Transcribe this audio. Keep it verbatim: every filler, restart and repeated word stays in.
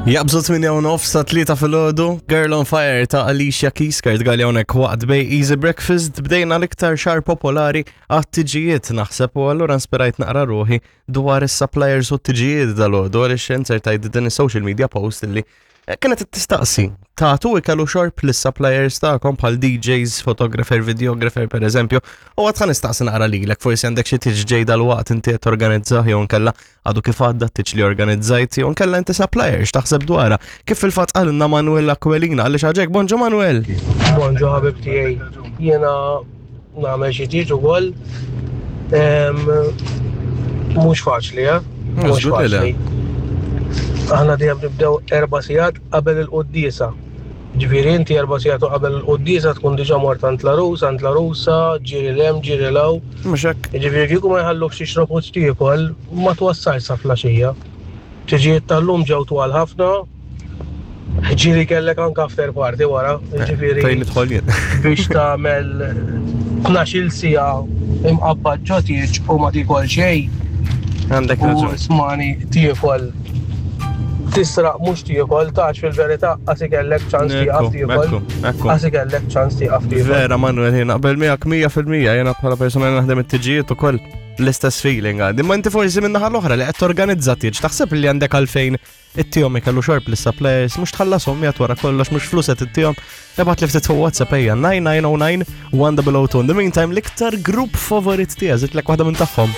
Jaqbżu tmienja u nofs sa tlieta filgħodu, Girl on Fire ta' Alicia Keys, Kurt Galea hawnhekk waqt Bay Easy Breakfast, bdejna l-iktar xahar popolari għat-tiġijiet naħseb u allura inspirajt naqra ruħi dwar is-suppliers u t-tiġijiet dalgħodu għaliex insertajt din is-social media post illi kienet tistaqsi. Tagħtu ikel u xorb lis-suppliers tagħkom bħal D Js, photographer, videographer per eżempju, u għad ħa nistaqsi naqra lilek, forsi għandek xi tieġ ġej dal-waqt inti qed torganizzah jew nkella għadu kif għadda t-tieġ li organizzajt jew nkella inti supplier, x'taħseb dwarha. Kif fil-fatt qalilna Manuel Aquilina għaliex għaġek, bonġu Manuel. Bonġu ħabib tiegħi. Jiena nagħmel xi tieġ ukoll. Em, Mhux faċli, eh? Mhux Żgur li le. faċli. Aħna dejjem nibdew erba' sigħat qabel il-quddiesa. Ġifieri inti erba' sigħat qabel il-quddiesa tkun diġà mort għand l-għarus, għand l-għarusa, ġiri 'l hemm, ġiri 'l hawn. Mhux hekk. Ġifieri kieku ma jħallukx tixrob u tiekol, ma twassalx sa filgħaxija. Tiġijiet tal-lum ġew twal ħafna. Ġieli kellek anke after party wara, ġifieri Fejn nidħol jien. Biex tagħmel tnax-il siegħa imqabbad ġo tieġ u ma tiekol xejn. Għandek U raġun. smani tiekol tisraq mhux tiekol tax fil-verità qas ikellek ċans tieqaf Ekku, tiekol. ekku, ekku. Qas ikellek ċans tieqaf tiekol. Vera Manuel, jien naqbel miegħek mija fil-mija, jiena bħala persona li naħdem it-tiġijiet ukoll l-istess feeling għandi. Ma inti forsi minn naħa l-oħra li qed torganizza tieġ, taħseb li għandek għalfejn ittihom ikel u xorb lis-suppliers, mhux tħallashom jgħat wara kollox, mhux flus qed ittihom? Ibgħat li ftit fuq WhatsApp ejja nine nine oh nine one double oh two. In the meantime, l-iktar grupp favorit tiegħek, żidtlek waħda minn tagħhom.